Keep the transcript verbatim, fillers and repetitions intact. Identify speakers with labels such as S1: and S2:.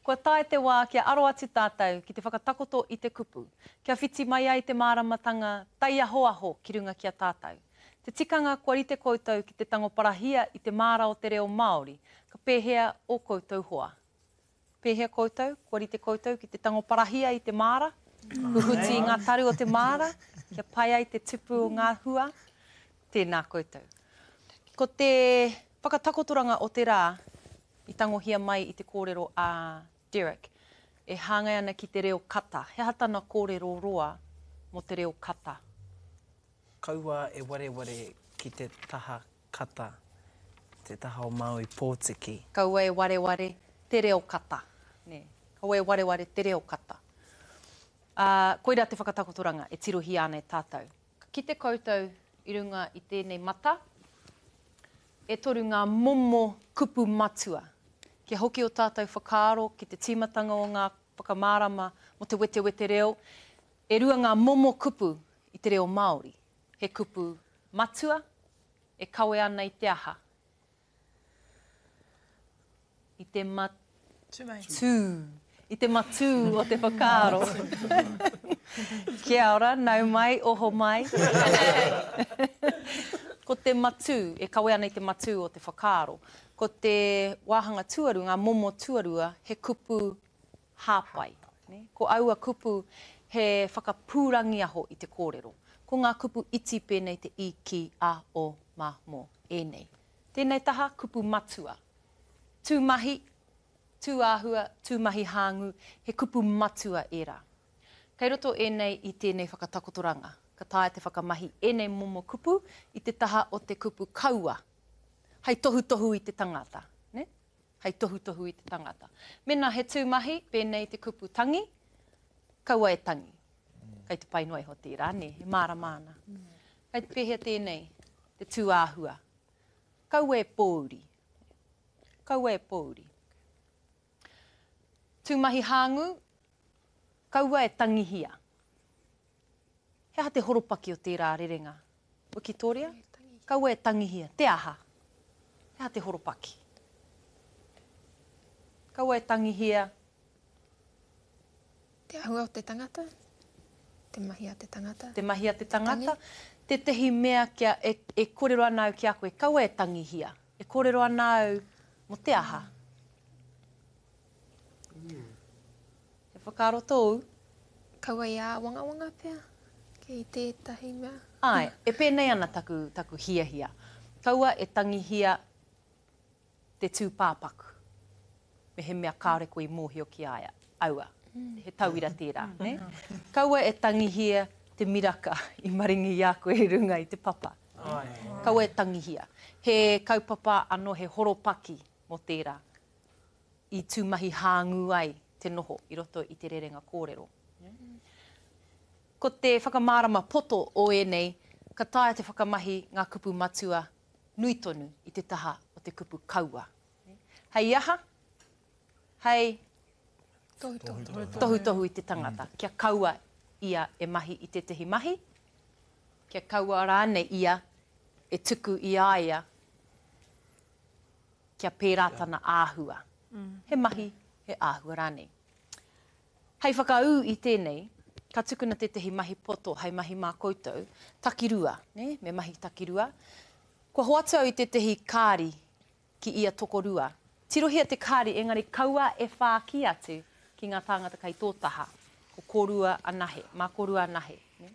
S1: Kua tae te wā kia aro atu tātou ki te whakatakoto i te kupu, kia whiti mai ai te māramatanga taiahoaho ki runga ki a tātou. Te tikanga kua rite koutou ki te tango parahia i te māra o te reo Māori, ka pēhea ō koutou hoa? Pēhea koutou? Kua rite koutou ki te tango parahia i te māra? Huhuti i ngā taru o te māra, kia pai ai te tupu o ngā hua? Tēnā koutou. Ko te whakatakotoranga o te rā i tangohia mai i te kōrero a Derek, e hāngai ana ki te reo kata. He aha tana kōrero roa mō te reo kata?
S2: Kaua e wareware ki te taha kata, te taha o Māui Pōtiki.
S1: Kaua e wareware te reo kata. Nē. Kaua e wareware te reo kata. Ā, koirā te whakatakotoranga e tirohia ana e tātou. Ka kite koutou i runga i tēnei mata, e toru ngā momo kupu matua. Kia hoki ō tātou whakaaro ki te tīmatanga o ngā whakamārama mō te wetewete reo, e rua ngā momo kupu i te reo Māori. He kupu matua e kawe ana i te aha? I te matū. I te matū o te whakaaro. Kia ora, nau mai, oho mai. Ko te matū, e kawe ana i te matū o te whakaaro. Ko te wāhanga tuarua, ngā momo tuarua, he kupu hāpai. Ko aua kupu he whakapūrangiaho i te kōrero. Ko ngā kupu iti pēnei te i, ki, a, o, ma, mō, ēnei. Tēnei taha, kupu matua. Tūmahi, tūāhua, tūmahi hāngū, he kupu matua ērā. Kei roto ēnei i tēnei whakatakotoranga. Ka taea te whakamahi ēnei momo kupu i te taha o te kupu kaua, hei tohutohu i te tangata, nē? Hei tohutohu i te tangata. Mēnā he tūmahi, pēnei te kupu tangi, kaua e tangi. Kei te pai noa iho tērā, nē? E mārama ana. Kei te pēhea tēnei, te tūāhua? Kaua e pōuri. Kaua e pōuri. Tūmahi hāngū, kaua e tangihia. He aha te horopaki o tērā rerenga? Wikitoria? Kaua e tangihia. Te aha? He aha te horopaki? Kaua e tangihia.
S3: Te āhua o te tangata? Te mahi a te tangata?
S1: Te mahi a te tangata? Tētehi mea kia e, e kōrero ana au ki a koe, kaua e tangihia. E kōrero ana au mō te aha? He whakaaro tōu?
S3: Kaua i āwangawanga pea ki tētahi mea.
S1: Āe, e pēnei ana taku, taku hiahia. Kaua e tangihia te tūpāpaku, mehemea kāore koe i mōhio ki a ia. Aua, he tauira tērā, nē? Kaua e tangihia te miraka i maringi i a koe i runga i te papa. Kaua e tangihia. He kaupapa anō, he horopaki mō tērā i tūmahi hāngū ai te noho i roto i te rerenga kōrero. Ko te whakamārama poto o ēnei, ka taea te whakamahi ngā kupu matua nui tonu i te taha o te kupu kaua. Hei aha? Hei
S3: Tohutohu.
S1: tohutohu i te tangata kia kaua ia e mahi i tētehi mahi, kia kaua rānei ia e tuku i a ia kia pērā tana āhua. He mahi, he āhua rānei. Hei whakaū i tēnei, ka tukuna tētehi mahi poto hei mahi mā koutou, takirua, nē, me mahi takirua. Kua hoatu au i tētehi kāri ki ia tokorua. Tirohia te kāri, engari kaua e whāki atu ki ngā tāngata kei tō taha. Ko kōrua anahe, mā kōrua anahe. Nē?